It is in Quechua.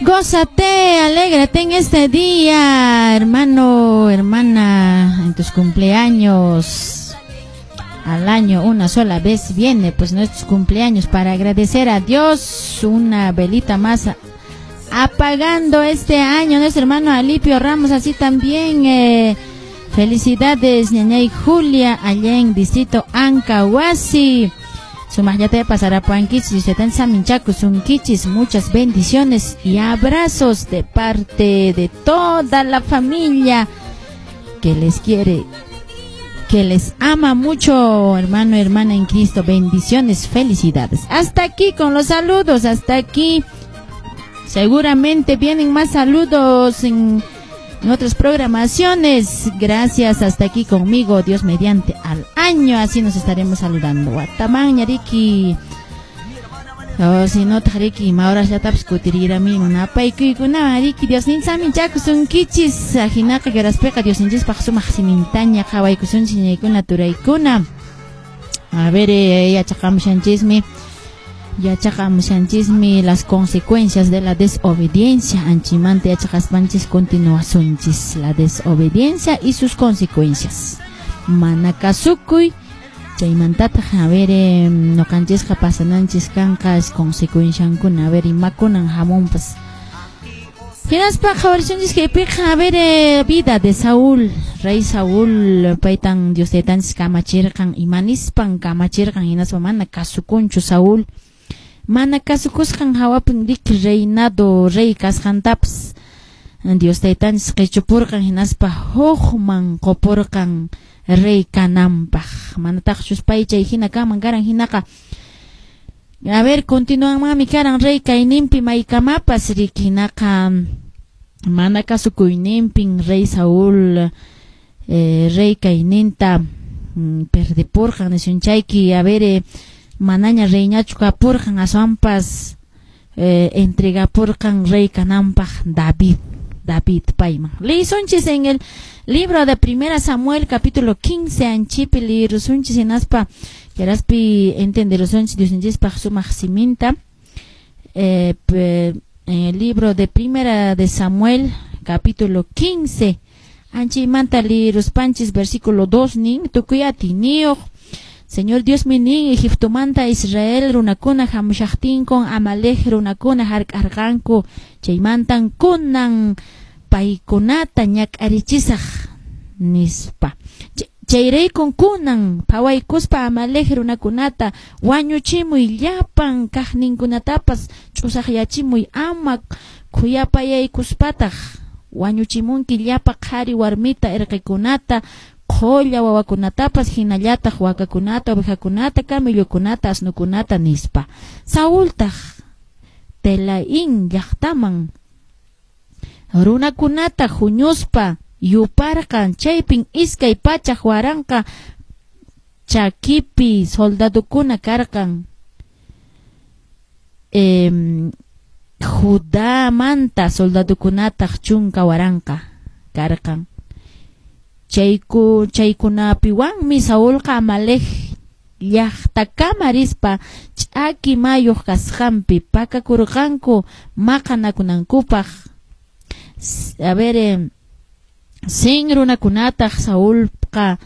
Gózate, alégrate en este día, hermano, hermana, en tus cumpleaños. Al año una sola vez viene pues nuestros cumpleaños para agradecer a Dios una velita más apagando este año. Nuestro hermano Alipio Ramos, así también, felicidades, ñañay Julia, allá en distrito Ancahuasi. Sumaqllata pasarapuwankichis, saminchakusunkichis, muchas bendiciones y abrazos de parte de toda la familia que les quiere, que les ama mucho, hermano, hermana en Cristo. Bendiciones, felicidades. Hasta aquí con los saludos, hasta aquí. Seguramente vienen más saludos en otras programaciones. Gracias, hasta aquí conmigo, Dios mediante, al año, así nos estaremos saludando. Watamanña riki. Oh, si no riki, maurasllatapas kutirirami napaykuykuna riki, Diosninsaminchakusunkichis, ajinaqa karaspiqa Diosninchispaq sumaq simintaña qhawaykusunchis ñaykuna turaykuna. A ver, yachaqamushanchismi. Yachaqamushanchismi las consecuencias de la desobediencia. Anchimanta yachaqaspanchis continuasunchis la desobediencia y sus consecuencias. Mana kasukuy chaymantataq, a ver, ñuqanchisqa pasananchis kanqa consecuenciankuna, a ver, imakunan hamunpas. Hinaspa qhawarisunchis kaypiqa, a ver, vida de Saúl, rey Saúl, paytan Dios taytanchis kamachirqan, imanispan kamachirqan, hinaspa mana kasukunchu Saúl. Mana kasukusqan hawapin riki reinado rey kasqantapas Dios taytanchis qichupurqan, hinaspa hukman qupurqan rey kananpaq. Manataqchus pay chay hina kanman karan hinaqa, a ver, continuanmanmi karan rey kayninpi maykamapas riki, hinaqa mana kasukuyninpin rey Saúl rey kayninta perdipurqan nisunchayki, a ver, manaña reyñachu kapurqan, aswanpas entregapurqan rey kananpaq David payman. Lisunchis en el libro de Primera Samuel capítulo 15 anchipi lirusunchis hinaspa yaraspi entenderusunchis Diosninchispaq sumaq siminta. En el libro de Primera de Samuel capítulo 15 anchimanta liruspanchis versículo 2 nin tukuy atiniyuq Señor Dios minin Egiptomanta Israel runakuna hamushaqtinkun Amalek runakuna hark'arqanku chaymantan kunan paykunata ñak'arichisaq nispa. Chayraykun kunan phawaykuspa Amalek runakunata wañuchimuy llapan kaqninkunatapas ch'usaqyachimuy ama khuyapayaykuspataq wañuchimunki llapa qhari warmita irqikunata qhulla wawakunatapas hinallataq wakakunata, ovejakunata, camellokunata, asnukunata nispa. Saultaq Telaín llaqtaman runakunata huñuspa yuparqan, chaypin 200,000 chakipi soldadukuna karqan. Judamanta soldadukunataq 10,000 karqan. Chaykunapiwanmi Saulqa Amalek llaqtakama rispa ch'aki mayuq kasqanpi pakakurqanku maqanakunankupaq. A ver, sin runakunataq Saulqa